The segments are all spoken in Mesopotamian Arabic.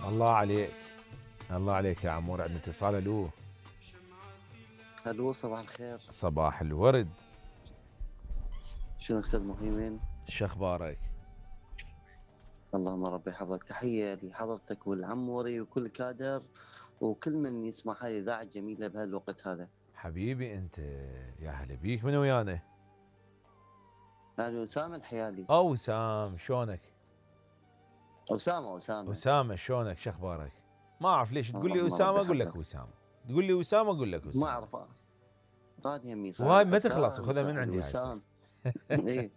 الله عليك. الله عليك يا عمور. عندنا اتصال. الو. الو صباح الخير. صباح الورد. شنو استاذ مهيمن؟ شخبارك؟ اللهم ربي يحفظك. تحيه لحضرتك والعموري وكل كادر وكل من يسمع هذه الاذاعه الجميله بهالوقت هذا. حبيبي انت. يا هلا بيك. من ويانا؟ انا اسامه الحيالي. وسام. شلونك؟ اسامه اسامه شلونك؟ شخبارك؟ ما اعرف ليش تقول لي اللهم اسامه ربي اقول لك يحفظك. وسام، تقول لي وسام اقول لك وسام. ما اعرف راني يمي وهاي صح ما تخلص، وسام وخذها صح من عندي هاي وسام. ايه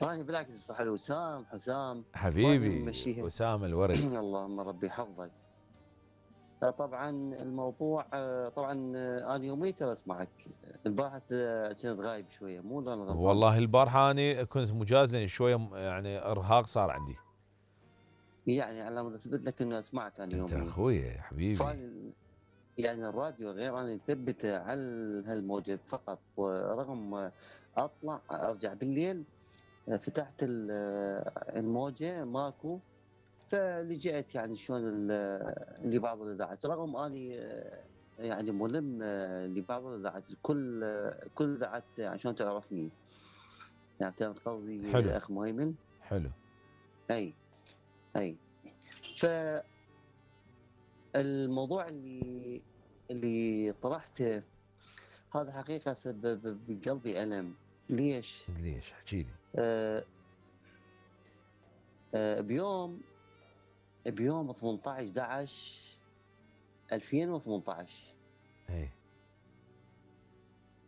راني بالعكس صح وسام حسام. راني حبيبي ممشيها. وسام الورد. اللهم ربي يحفظك. طبعا الموضوع طبعا انا يوميت اسمعك. البارحه كنت غايب شويه مو انا غلطان؟ والله البارحه اني كنت مجازن شويه، يعني ارهاق صار عندي. يعني على ما اثبت لك انه اسمعك انا انت يوميا. اخوي حبيبي. يعني الراديو غير انا ثبته على هالموجة فقط، رغم اطلع ارجع بالليل فتحت الموجة ماكو. فلجأت يعني شلون لبعض الاذاعات، رغم اني يعني ملم لبعض الاذاعات. كل الاذاعات عشان تعرفني، يعني فهمت قصدي حلو. اخ مهيمن؟ حلو. اي فالموضوع اللي طرحته هذا حقيقة سبب بقلبي ألم. ليش؟ ليش؟ احكي لي. بيوم 18/11/2018.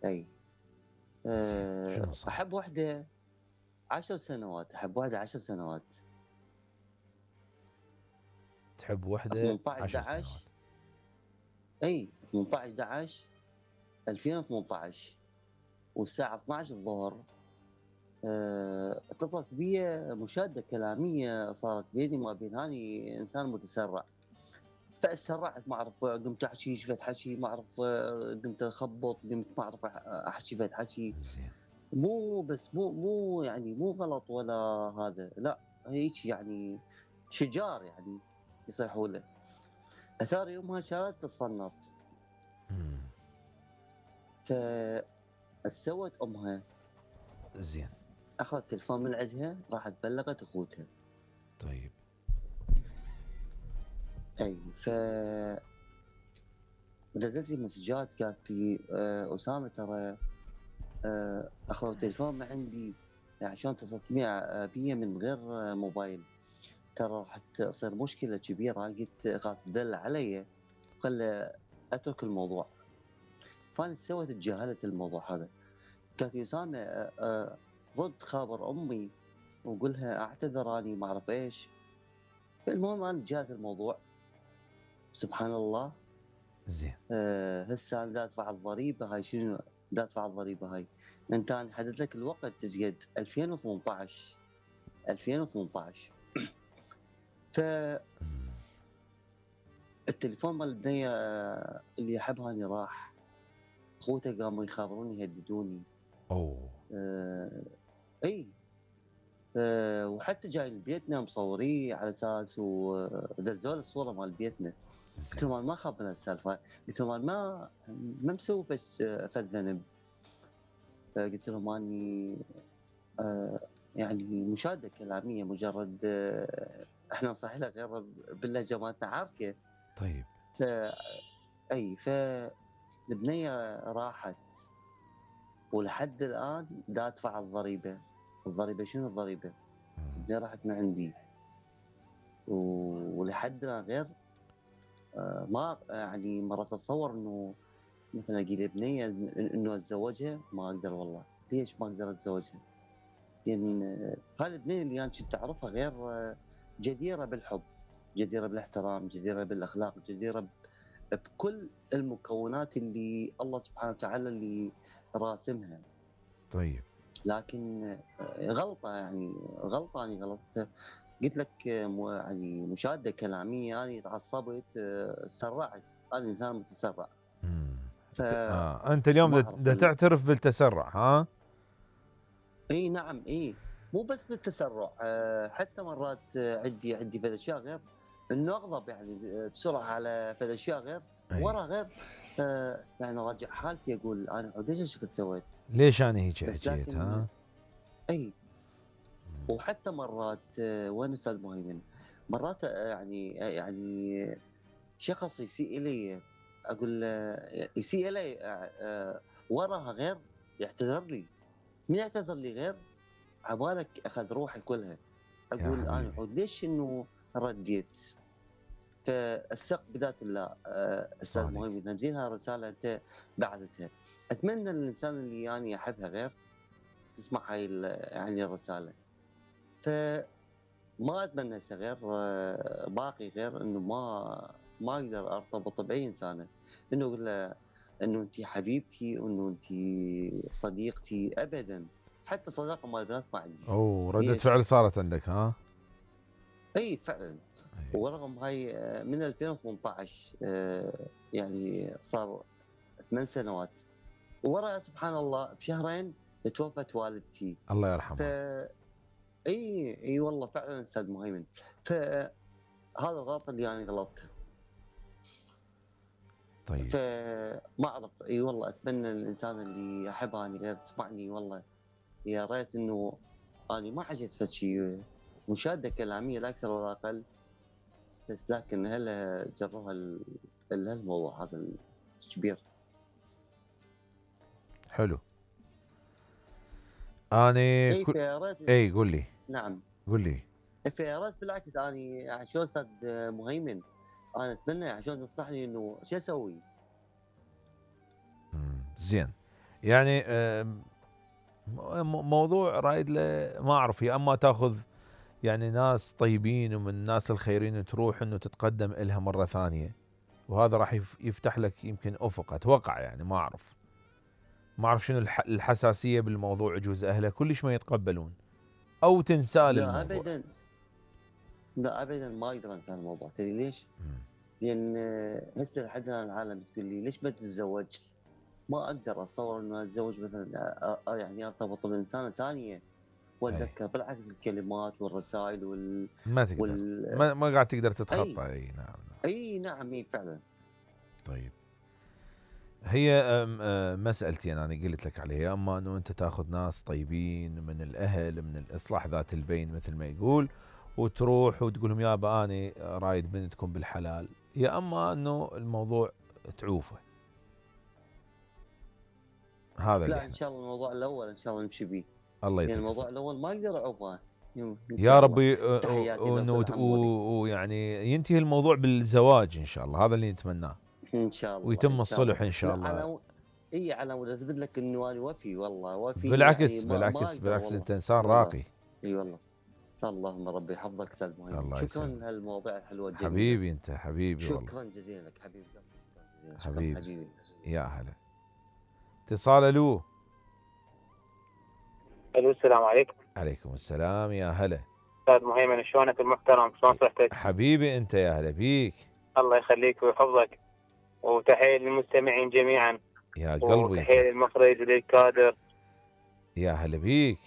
اي شنو صار؟ احب وحده 10 سنوات. تحب وحده 10 سنوات؟ اي 18/11/2018 والساعة 12 الظهر. اتصلت بي مشادة كلامية صارت بيني وما بين هاني إنسان متسرع. فاسرعت، ما أعرف قمت أحكي شفت حكي، ما أعرف قمت أخبط، قمت ما أعرف أحكي شفت حكي. زين. مو بس مو يعني مو غلط ولا هذا، لا هيك يعني شجار يعني يصيحوا له. أثار يومها شالت الصنط. فسوت أمها. زين. اخذت تلفون من عندها، راحت بلغت اخوتها. طيب. اي نزلت لي مسجات قالت لي اسامه ترى اخذوا تلفون من عندي عشان اتصلت بي من غير موبايل، ترى راح تصير مشكله كبيره. قلت قالت دل علي خل اترك الموضوع. فانا سويت تجاهلت الموضوع هذا. قالت لي اسامه رد خابر امي وقولها اعتذر اني ما اعرف ايش. فالمهم انا تجاهلت الموضوع. سبحان الله. زين. هسه انا دافع الضريبه هاي. شنو دافع الضريبه هاي؟ انت انا حددت لك الوقت تجد 2018. ف التليفون مال البنيه اللي احبها اني راح. اخوته قاموا يخابروني يهددوني. اي وحتى جاي لبيتنا مصوريه على اساس ودزوا الصوره مال بيتنا. قلت لهم ما اخاف من السالفه، قلت لهم ما مسوي فد ذنب. قلت لهم اني يعني مشاده كلاميه مجرد احنا نصحي له غير باللهجه مالتنا عارفه. طيب. البنيه راحت ولحد الان دا ادفع الضريبه. شنو الضريبه؟ البنيه راحت من عندي ولحد الان غير ما يعني مرة اتصور انه مثلا اجي بنيه انه اتزوجها ما اقدر. والله ليش ما اقدر اتزوجها؟ لان هاي البنيه اللي انا كنت اعرفها غير جديره بالحب، جديره بالاحترام، جديره بالاخلاق، جديره بكل المكونات اللي الله سبحانه وتعالى اللي راسمها. طيب. لكن غلطه يعني غلطت. قلت لك يعني مشاده كلاميه يعني تعصبت سرعت. انا انسان متسرع. انت اليوم دا تعترف بالتسرع ها؟ اي نعم. اي مو بس بالتسرع، حتى مرات عندي في الاشياء غير انه اغضب يعني بسرعه على فد اشياء غير، اي ورا غير يعني راجع حالتي اقول انا عود ليش هالشكل سويت. ليش انا هيك بس حكيت لكن ها؟ اي، وحتى مرات وين استاذ مهيمن، مرات يعني شخص يسيء الي، اقول يسيء الي وراها غير يعتذر لي، من يعتذر لي غير عبالك اخذ روحي كلها. يا اقول انا حبيبي عود ليش انه رديت. فالثق بذات الله استاذ صادق. مهيمن، همزينها رساله انت بعثتها. اتمنى الانسان اللي يعني احبها غير تسمع هاي يعني الرساله. فما اتمنى هسه غير باقي غير انه ما اقدر ارتبط باي انسانه، انه اقول له انه انت حبيبتي وانه انت صديقتي ابدا. حتى صداقه مال البنات ما عندي. اوه ردة ليش؟ فعل صارت عندك ها؟ اي فعلا. أي. ورغم هاي من 2018 يعني صار 8 سنوات، ورا سبحان الله بشهرين توفت والدتي. الله ف يرحمها. اي والله فعلا استاذ مهيمن. فهذا الغلط اللي يعني غلطته. طيب فما اعرف، اي والله اتمنى الانسان اللي احبه اني غير تسمعني. والله يا ريت انه اني ما حكيت فد شيء مشاده كلاميه لا اكثر ولا اقل، بس لكن هلا جربها الموضوع هذا الكبير. حلو. اني اي فيا ريت. اي قول لي. نعم. قول لي. فيا ريت بالعكس، اني يعني شلون استاذ مهيمن، انا اتمنى يعني شلون تنصحني انه شو اسوي. زين. يعني موضوع رايد له ما اعرف، يا اما تاخذ يعني ناس طيبين ومن الناس الخيرين تروح انه تتقدم إلها مرة ثانية، وهذا راح يفتح لك يمكن افق، اتوقع يعني ما اعرف شنو الحساسية بالموضوع، يجوز اهله كلش ما يتقبلون او تنسال لا الموضوع. ابدا، لا ابدا ما اقدر انسى الموضوع. تدري ليش؟ لان هسه لحد الان العالم تقول لي ليش ما تتزوج؟ ما اقدر اتصور انه اتزوج مثلا يعني ارتبط بانسانه ثانيه واتذكر بالعكس الكلمات والرسائل ما تقدر. ما قاعد تقدر تتخطى. اي نعم. اي نعم اي فعلا. طيب هي مسألتي أنا قلت لك عليها، أما أنه أنت تأخذ ناس طيبين من الأهل من الإصلاح ذات البين مثل ما يقول، وتروح وتقول لهم يابا أنا رايد بنتكم بالحلال، يا أما أنه الموضوع تعوفه. هذا اللي لا احنا ان شاء الله الموضوع الاول ان شاء الله نمشي به. الله يعني يعطيك الموضوع الاول ما اقدر اعوفه ان يا شاء الله. ربي. تحياتي لكل عمودي. ويعني ينتهي الموضوع بالزواج إن شاء الله، هذا اللي نتمناه، ان شاء الله ويتم ان شاء الله. الصلح إن شاء لا الله. اي على مود اثبت لك انه انا وفي، والله وفي يعني بالعكس ما بالعكس اقدر بالعكس، والله. أنت إنسان اي والله. راقي. اي والله. اللهم ربي يحفظك استاذ مهيمن. الله شكرا يسلمك لهالمواضيع الحلوه الجميله. حبيبي، أنت حبيبي والله. شكرا جزيلا لك حبيبي. شكرا جزيلا. شكرا حبيبي حبيبي. يا هلا. اتصال الو. الو السلام عليكم. عليكم السلام يا هلا. استاذ مهيمن شلونك المحترم؟ شلون صحتك؟ حبيبي انت يا هلا بيك. الله يخليك ويحفظك، وتحيه للمستمعين جميعا، يا قلبي وتحيه للمخرج وللكادر. يا هلا بيك.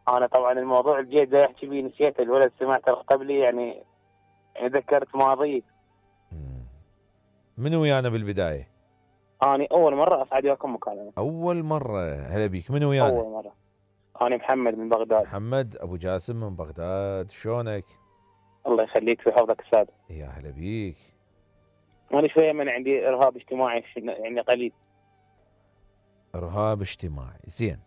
انا طبعا الموضوع الجيد ده احكي فيه نسيت، الولد سمعته قبلي يعني ذكرت ماضي. من ويانا بالبدايه؟ انا اول مره اصعد وياكم مكالمه. اول مره. هلا بيك. من ويانا؟ اول مره. انا محمد من بغداد. محمد ابو جاسم من بغداد. شلونك؟ الله يخليك ويحفظك استاذ. يا هلا بيك. انا شويه من عندي ارهاب اجتماعي يعني قليل. ارهاب اجتماعي. زين.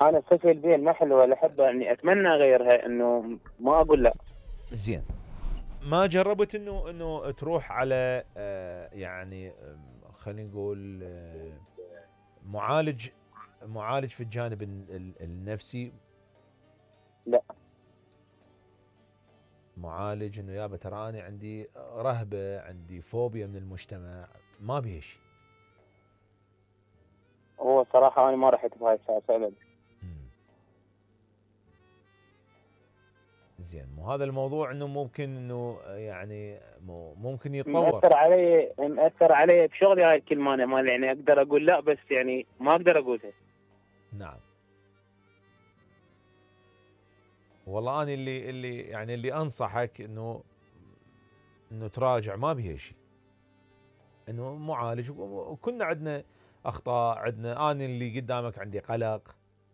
انا الصفه البين ما حلوه ولا احبها، يعني اتمنى اغيرها، انه ما اقول لا. زين. ما جربت انه تروح على يعني خلينا نقول معالج في الجانب النفسي؟ لا. معالج انه يابا ترى انا عندي رهبه، عندي فوبيا من المجتمع، ما بيه شيء. هو صراحه انا ما رحت بهاي السالفه. زين. مو هذا الموضوع انه ممكن انه يعني ممكن يتطور. مأثر علي بشغلي هاي الكلمه. انا ما يعني اقدر اقول لا، بس يعني ما اقدر اقولها. نعم. والله انا اللي انصحك انه انه تراجع ما بيها شيء، انه معالج وكنا عندنا اخطاء، عندنا انا اللي قدامك عندي قلق،